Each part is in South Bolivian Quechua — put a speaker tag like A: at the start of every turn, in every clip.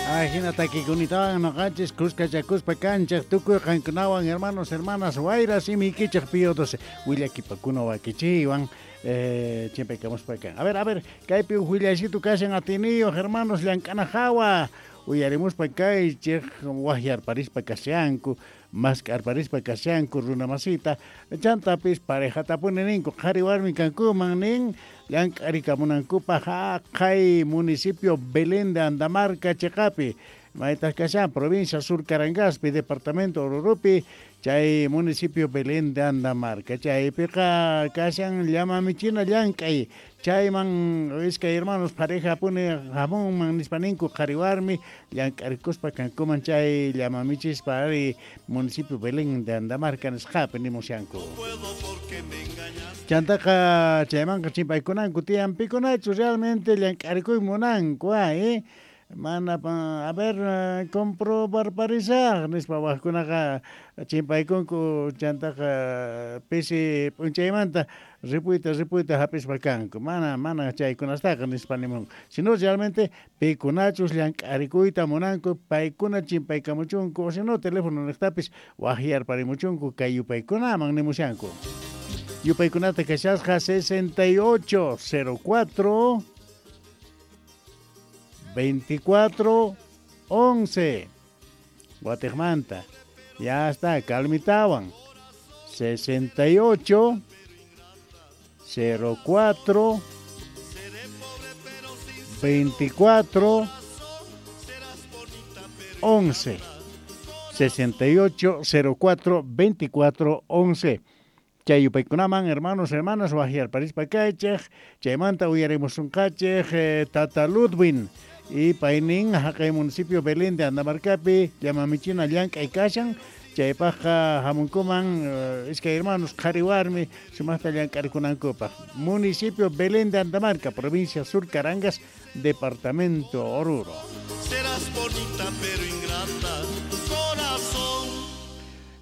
A: Ajina takikunitawan noqanchis kuskachakuspa kanchej tukuy qankunawan hermanos hermanas wayra simiykichej Pío 12 willakipakuna wakichiywan chimpaykamuspa kan. A ver, kaypi uj willaysitu kashan atiniyoj hermanos llank'ana jawa uyarimuspa kaychej wajyarparispa kashanku mask'arparispa kashanku runa masita chantapis parejatapuni ninku qhari warmi kankuman nin llank'arikamunankupaj jaqay municipio Belén de Andamarca cheqapi maytaj kashan provincia Sur Carangaspi departamento Oruropi chay municipio Belén de Andamarca chaypiqa kashan llama michina llank'ay chayman iskay hermanos pareja puni hamunman nispa ninku qhari warmi llank'arikuspa kankuman chay llama michispa ari municipio Belén de Andamarca nisqapi nimushanku. Chantaqa chaymanqa chimpaykunanku tiyan pikunachu realmente llank'arikuy munanku mana a ver comprobarparisaj nispa wajkunaqa chimpaykunku chantaqa pisi p'unchaymanta ripuyta ripuyta hap'ispa kanku mana mana chaykunastaqa nispa nimunku sino realmente pikunachus llank'arikuyta munanku paykuna chimpaykamuchunku o sino teléfono niqtapis wajyarparimuchunku kay yupaykunaman nimushanku. Yupaykunata kashasqa 68 04 24 11 Guatemala ya está calmitawan 68 04 24 11 68 04 24 11 Chay yupaykunaman hermanos hermanas wajyarparispa kaychej chaymanta uyarimusunqachej Tata Ludwin y paynin jaqay municipio Belén de Andamarcapi llamamichina llank'ay kashan chaypajqa hamunkuman iskay hermanos qhari warmi sumaqta llank'arikunankupaj municipio Belén de Andamarca provincia Sur Carangas departamento Oruro.
B: Serás bonita pero ingrata corazón.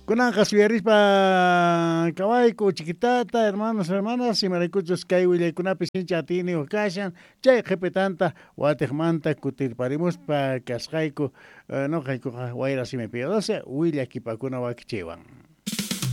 A: Kunanqa suyarispa kawayku chiquitata hermanos hermanas imaraykuchus kay willaykunapi sincha atiniyuq kashan chay qhipitanta watiqmanta kutirparimuspa kasqayku noqaykuqa wayra simi Pío 12 willakipakuna wakichiwan.